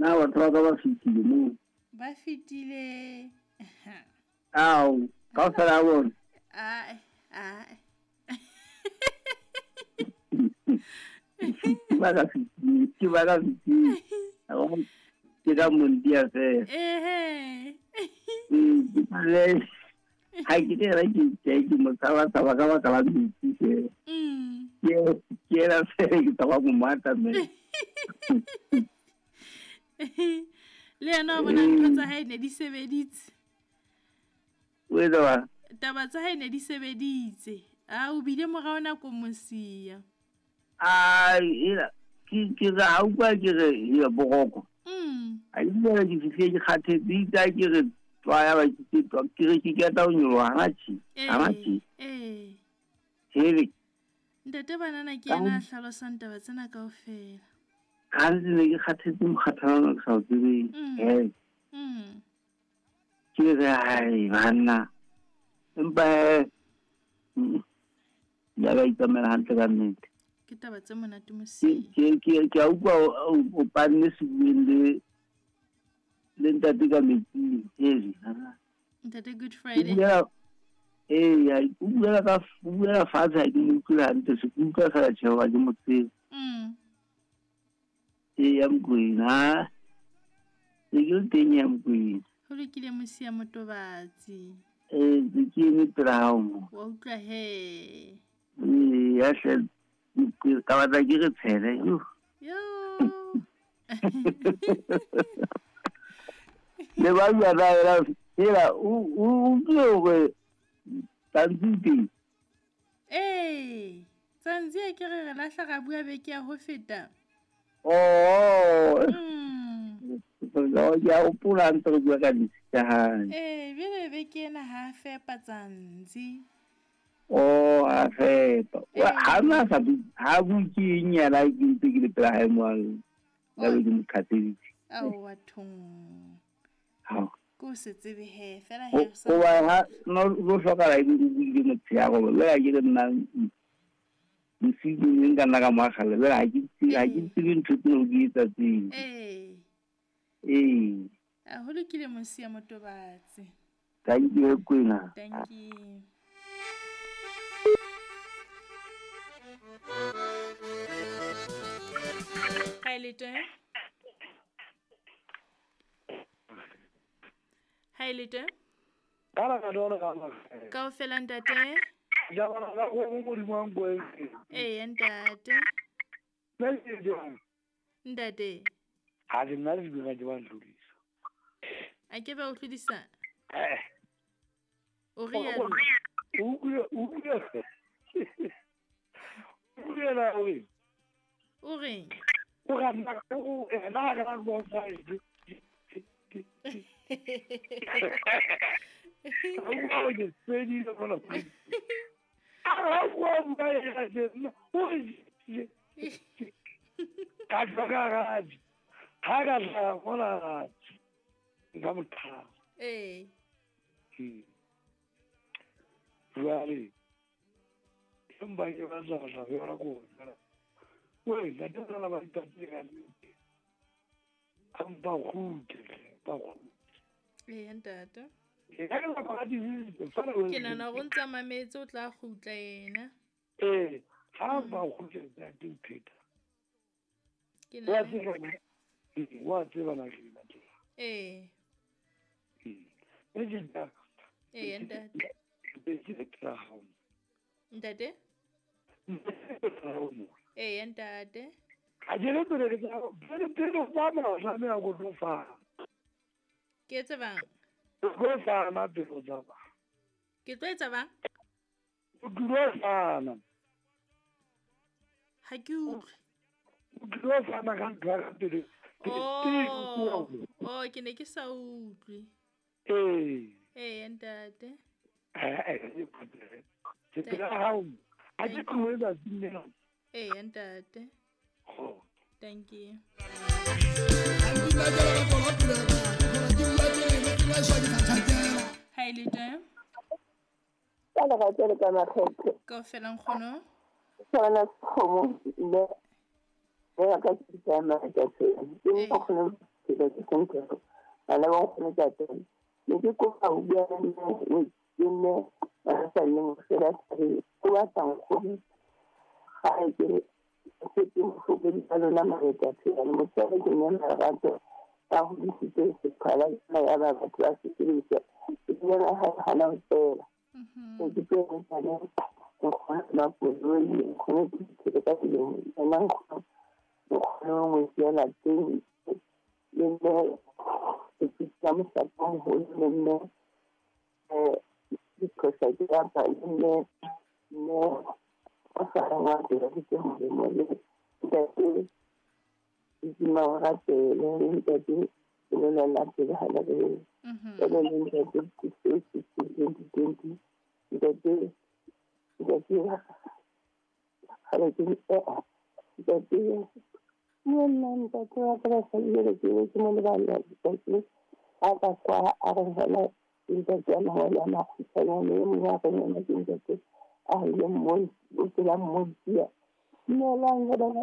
Na batho ba ka ba fetile moo? Ba fetile. Ao, kaofela ha bona. Ae, ae. Ke ba ka fetile, ke ba ka fetile. Ke ka montia fela. Ehe. Ke le ha ke re ra ke ke ke mo tshaba tshaba ka baka la metsi fela. Ke ena fela ke tshaba go mo atamela. Le yena wa bona ntho tsa hae ne di sebeditse. O etsa ba? Taba tsa hae ne di sebeditse. A o bile morao nako mosia. A ela ke re ha utlwa ke re ya boroko. A ke ke ke fihle ke kgathetse itse ha ke re tswa ya ba ke tswa ke re ke keta ho nyoloha hana tjhe. Hana tjhe. Eh. Hele. Ntate banana ke yena a hlalosang taba tsena kaofela. Ka ntse ne ke kgathetse mokgathala ke sa o tsebeng. Eh. Ke re hai banna. Empa ya ba itsamela hantle ka nnete. Ke taba tse monate mosi. Ke a utlwa o panne sebueng le le ntate ka metsing. Hele. Ntate Good Friday. Ee, o buela ka o buela fatshe ha ke mo utlwile hantle se ke utlwa fela tjhe hoba ke mo tsebe. Ee, ya Mokwena. Ne ke le teng ya Mokwena. Ho lokile mosia motobatsi. Ee, ke eme pela hao mo. Wa utlwa he. Ee, ya hle ka batla ke re tshele. Yo. Le ba bua na ela ela o utlwile hore Tsantsi teng. Ee, Tsantsi a ke re re lahla ra bua beke ya ho feta. Oh. Ke a hopola ntse re bua ka ditsi tsa hae. Ee, jwale beke ena ha fepa Tsantsi. Oh, a fepa. Ha na sa ha bue ke eng yena ke ntse ke le pela hae mo ka be ke mo qhatseditse. Aowa thong. Hao. Ko se tsebe he fela he o sa. Hoba ha no lo hlokahala ebe o buile motshehare hoba jwale ha ke re nna bosiu ke ne nka nna ka mo akgella jwale ha ke tsebe ha ke tsebe ntho tseo di etsa tseo. Ee. Ee. A ho lokile mosia motobatsi. Thank you Kwena. Thank you. Hi Lete. Hi Lete. Kaofela ntate. Ee ntate. Ntate. Ha ke nna le dibina ke ba ntlodisa. A ke ba o tlodisa? Eh. O rialo. O utlwe. O riela o reng? O reng? O ra nna o ena ga ra go sa e. O ke tsedi le bona. A go ba ya ke o re. Ka ka ga ha ka tla bona nka motho. Ee. Jwale empa ke batla go tla yona ko we ntate ba ba itatile ka nnete. A mpa kgutle, ba kgutle. Ee ntate. Ke ka la ba di Ke nahana hore o ntsa mametse o tla kgutla yena. Ee, ha ba kgutle ntate o pheta. Ke nahana wa tseba na ke ntate. Ee. Ee ntate. Ntate? Ee ntate. Ha ke le pele ke tla pele o tsamaya o tlameha go tlo fana. Ke etse bang? Go fana pele o tsamaya. Ke tlo etsa bang? O tlilo fana. Ha ke utlwe. O tlilo fana ka ntho ya ka pele. Oh, oh, ke ne ke sa utlwe. Ee. Ee ntate. Ke pela hao. Ha ke tlohe tsatsing lena. Ee ntate. Thank you. Hi Lete. Kaofela nkgono. Tsona kgomo le ya ka ke tsamaya ka tsela. Ke nkgono. Ntate Sentoro, bana ba nkgono Tatolo. Ne ke kopa ho bua le mme ke mme ba sa lleng fela thabeng. O batla nkgono gae ke re setse mohlokodi ka lona maretaphelane motswala ke mme Marato a hodisitse seqhwala sena ya ba batho ba se sebedisa ebile ha hana ho fela. Ke tlo etsa le nkgono Makoloi, nkgono ke ka dilemo yena nkgono nkgono ngwetsi ya lapeng le mme ke mohlapo moholo le mme diphosa ke apa le mme mme o sa reng wa tsela ke molemo le ntate Dima o rapele le ntate ke lolela pele ha le re jalo le ntate 2020 ntate ntate kgale ke ntate le nna ntate wa ka basadi jale ke be ke mo lebala ntate a ka kwa a re fela ntate a mangwe a makgutshwanyane e mongwe a re yena ke ntate a ile o tsela mmontia dumelang ge bana.